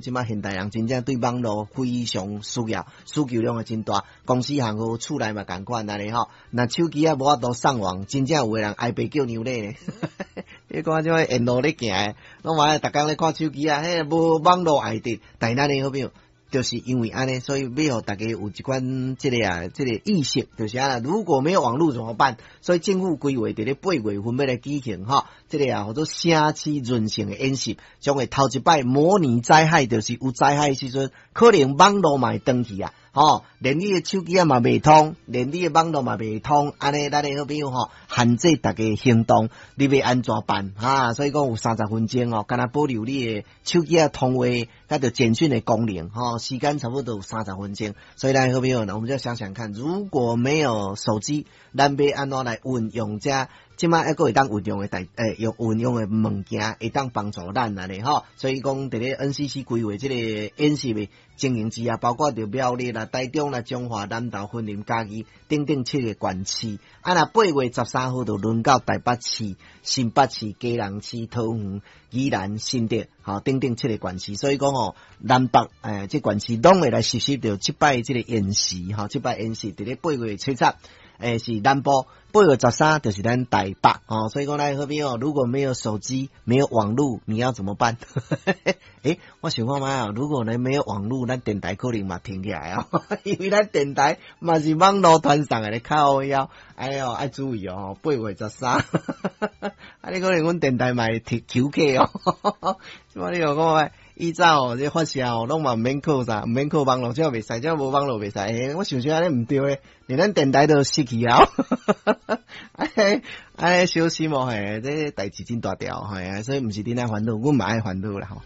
這馬現代人真正對網路非常需要，需求量會真大。公司行號厝內嘛仝款按呢吼。若手機仔無法度上網，真正有的人哀爸叫娘咧。你看這馬沿路咧行的，攏嘛愛逐工咧看手機啊，彼無網路愛得。但咱的好朋友，就是因為按呢，所以欲予大家有一款這個啊，這個意識，就是啊，如果沒有網路怎麼辦？所以政府規劃佇咧8月份欲來舉行吼，這個啊，號做城市韌性的演習，將會頭一擺模擬災害，就是有災害時陣，可能網路嘛會斷去啊，吼，連你的手機仔嘛袂通，連你的網路嘛袂通，按呢，咱的好朋友吼，限制大家行動，你欲按怎辦？哈，所以講有30分鐘哦，敢若保留你的手機仔通話，佮著簡訊的功能，吼，時間差不多有三十分鐘。所以咱好朋友呢，我們就想想看，如果沒有手機，咱欲按怎來運用這這馬猶閣會當運用的代，欸，用運用的物件，會當幫助咱按呢吼。所以講，佇咧 NCC 規劃這個演習的情形之下，包括著苗栗啦、台中啦、彰化、南投、雲林、嘉義等等七個縣市。啊，若8月13號就輪到台北市、新北市、基隆市、桃園、宜蘭、新竹，吼等等七個縣市。所以講吼，南北欸，這縣市攏會來實施著這擺這個演習，吼，這擺演習佇咧8月7日，欸，是南部，8月13就是咱台北，吼，所以講咱好朋友，如果沒有手機，沒有網路，你要怎麼辦？欸，我想看覓啊，如果呢沒有網路，咱電台可能嘛停起來哦，因為咱電台嘛是網路傳送的咧，靠腰，哎喲，愛注意哦，八月十三，啊，你可能阮電台嘛會停休課哦，這馬你有講以早哦，這發射哦，攏嘛毋免靠啥，毋免靠網路，這袂使，這無網路袂使。欸，我想想按呢毋對咧，連咱電台都失去啊！哎，哎，小心哦，嘿，這代誌真大條，嘿，所以毋是恁愛煩惱，阮嘛愛煩惱啦吼。